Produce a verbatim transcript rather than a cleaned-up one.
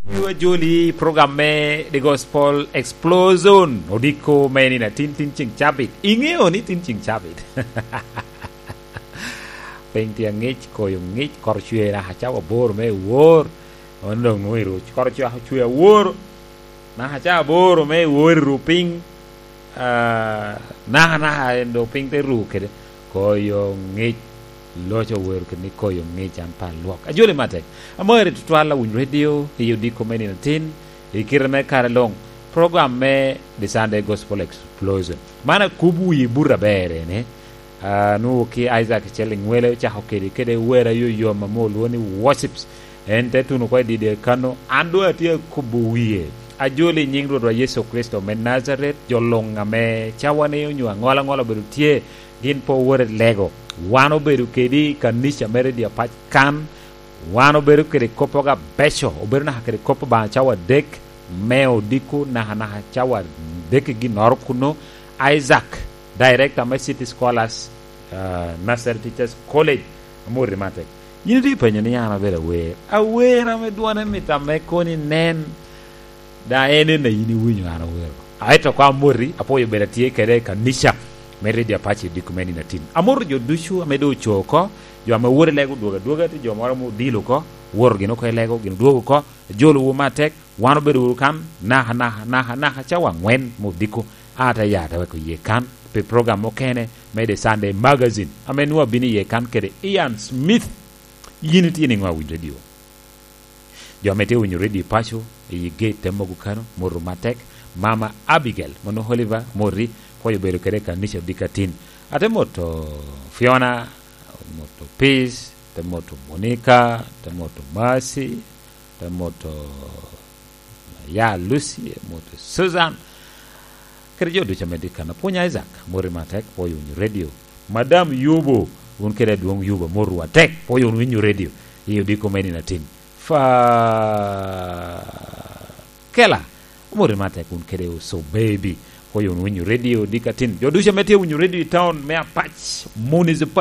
Yu ajoli i program me The Gospel Explosion, odiko me nino atin, tin ceng cabit. Iŋeo ni tin ceng cabit? Piny tye aŋic, koyo ŋic, kor cwer, acawa aboro me wor. Wan doŋ nwoŋo i ru-, kor cwer, cwer awor. Naka ca aboro me wor i ru piny, ah, naka, naka en doŋ piny te ru kede koyo ŋic, loc owero kede ni koyo ŋic an pe alwok. Ajoli matek. Amari tutwal awiny radio, i odiko me nino atin, i kite me kare luŋ, program me The Sunday Gospel Explosion. Man akubo wi buto aber ene, ah, nwoŋo ki Isaac Cel Iŋwele ocako kede, kede wer ayoyom ame olwoŋo ni worships. En te tuno oko i dide kano, an doŋ atye akubo wie. Ajoli i nyiŋ Rwotwa Yecu Kricito me Najaret, jo luŋ ame cawane onyo aŋola aŋola obedo tye, gin pe owot i lego. Wan obedo kedi i kanica me Radio Apac kan, wan obedo kede koppogo abeco, obedo naka kede kop Obaŋa cawa adek me odiko, naka, naka cawa adek i ginnoro kuno. Isaac, director me City Scholars, ah, Nursery Teachers College, amoti matek. Yin itye ipenyo ni an abedo awer. Awer ame dwone mit ame koni nen, da en en a yin iwinyo an awero. Aeto ko amoti, apwoyo bedo atye kede i kanica me Radio Apac i diko me nino atin. Amoto jo ducu ame doŋ oco oko, jo ame wot i lego odwogo adwoga, tye jo moro ame odilo oko, woto gin oko i lego, gin odwogo oko, ajolowu matek, wan obedo wunu kan, naka, naka, naka, naka cawa aŋwen me odiko, a te ya te weko iye kan, pi program mukene me The Sunday Magazine, ame nwoŋo abino iye kan kede Ian Smith. Yin itye niŋo awinyo radio? Jo ame tye winyo radio i paco, i gate te mogo kano, moto matek, Mama Abigail, mono Oliver, moti, pwoyo bedo kede i kanica odiko atin. Ate moto Fiona, moto Peace, te moto Monica, te moto Mercy, te moto ya Lucy, moto Susan. Kede jo ducu ame tye kan. Apwony Isaac, moti matek, pwoyo winyo radio. Madam Yubo, wun kede adwoŋ Yubo, moto atek, pwoyo wunu winyo radio. I odiko me nino atin. Fa Kela, moti matek, wun kede oso baby, pwoyo wunu winyo radio odiko atin. Jo ducu ame tye winyo radio i town me Apac Municipal